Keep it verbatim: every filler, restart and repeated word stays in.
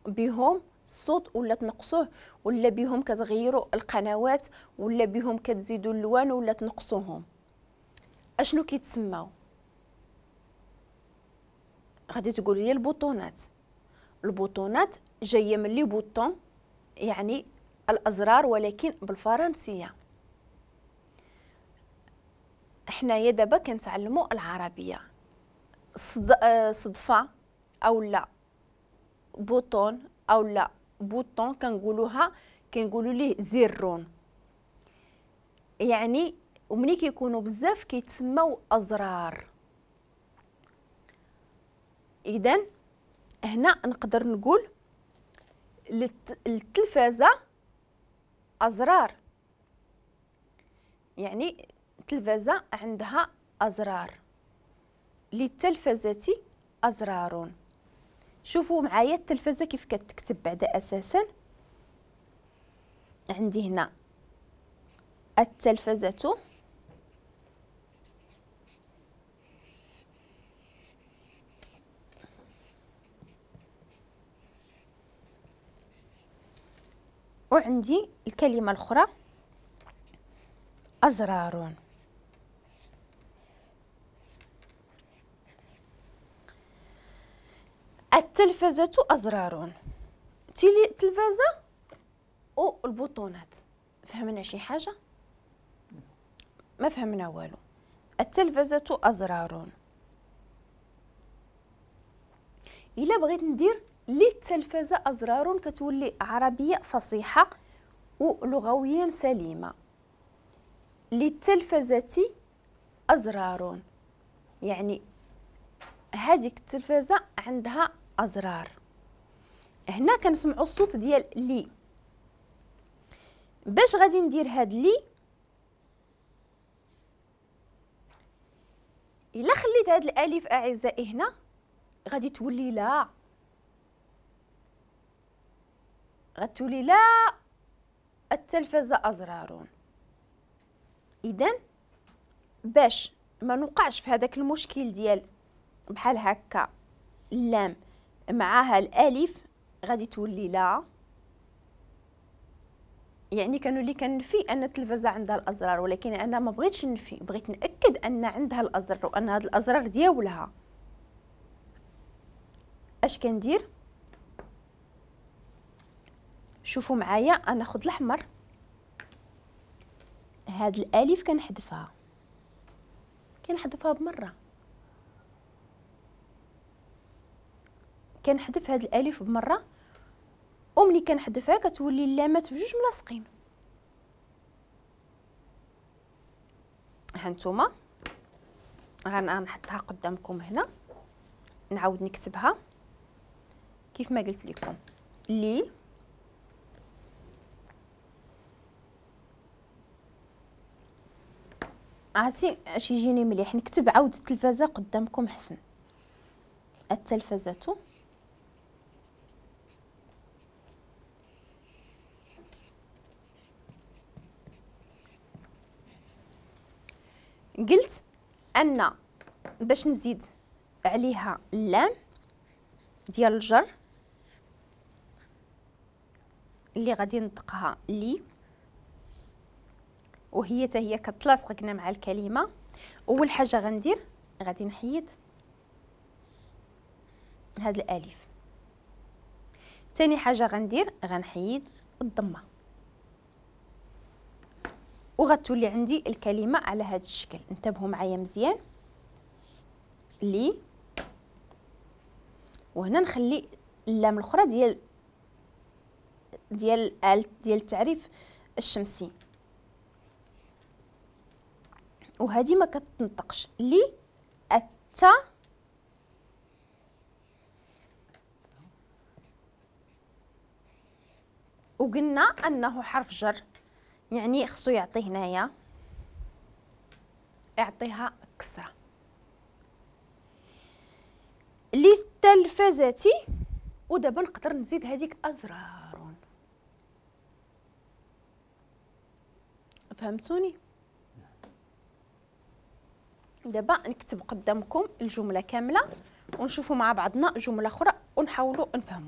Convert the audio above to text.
بهم الصوت ولا تنقصوه، ولا بهم كتغيروا القنوات، ولا بهم كتزيدوا اللوان ولا تنقصوهم. اشنو كيتسماو؟ غادي تقولوا لي البوطونات. البوطونات جاية من les boutons يعني الازرار، ولكن بالفرنسيه. حنايا دابا كنتعلموا العربية. صد... صدفة او لا bouton او لا bouton كنقولوها، كنقولوا ليه زرون يعني، ومني كيكونوا بزاف كيتسموا ازرار. اذا هنا نقدر نقول للتلفازه ازرار، يعني التلفازه عندها ازرار. للتلفزه ازرار. شوفوا معايا التلفزة كيف كتكتب بعدا. اساسا عندي هنا التلفزة وعندي الكلمة الاخرى ازرار. التلفزة أزرار، التلفزة والبطونات. فهمنا شي حاجة؟ ما فهمنا والو. التلفزة أزرار. إلا بغيت ندير للتلفزة أزرار كتولي عربية فصيحة ولغويا سليمة. للتلفزة أزرار يعني هذيك التلفزة عندها أزرار. هنا كنسمعوا الصوت ديال لي. باش غادي ندير هاد لي، الا خليت هاد الالف اعزائي هنا غادي تولي لا، غتولي لا التلفزة أزرار. اذا باش ما نوقعش في هذاك المشكل ديال بحال هكا اللام معاها الالف غادي تولي لا، يعني كانوا اللي كنفي ان التلفزة عندها الازرار، ولكن انا ما بغيتش نفي، بغيت ناكد ان عندها الازرار وان هاد الازرار ديالها. اش كندير؟ شوفوا معايا، انا ناخذ الاحمر، هاد الالف كنحذفها، كنحذفها بمرة، كنحذف هاد الالف بمرة، وملي كنحذفها كتولي اللامات بجوج ملاصقين. ها نتوما غنحطها قدامكم هنا، نعاود نكتبها كيف ما قلت لكم. لي عرفتي اش يجيني مليح نكتب عاود التلفزة قدامكم حسن. التلفزة قلت ان باش نزيد عليها اللام ديال الجر اللي غادي نطقها لي، وهي حتى هي كتلاصق قلنا مع الكلمة. اول حاجة غندير غادي نحيد هاد الالف. ثاني حاجة غندير غنحيد الضمة، وغتولي عندي الكلمة على هذا الشكل. انتبهوا معايا مزيان. لي، وهنا نخلي اللام الاخرى ديال ديال ديال التعريف الشمسي، وهذه ما كتنطقش. لي التا وقلنا انه حرف جر، يعني خصو يعطي هنايا يعطيها كسره. للتلفزة، ودابا نقدر نزيد هذيك ازرار. فهمتوني؟ دابا نكتب قدامكم الجملة كاملة ونشوفوا مع بعضنا جملة اخرى ونحاولوا نفهموا.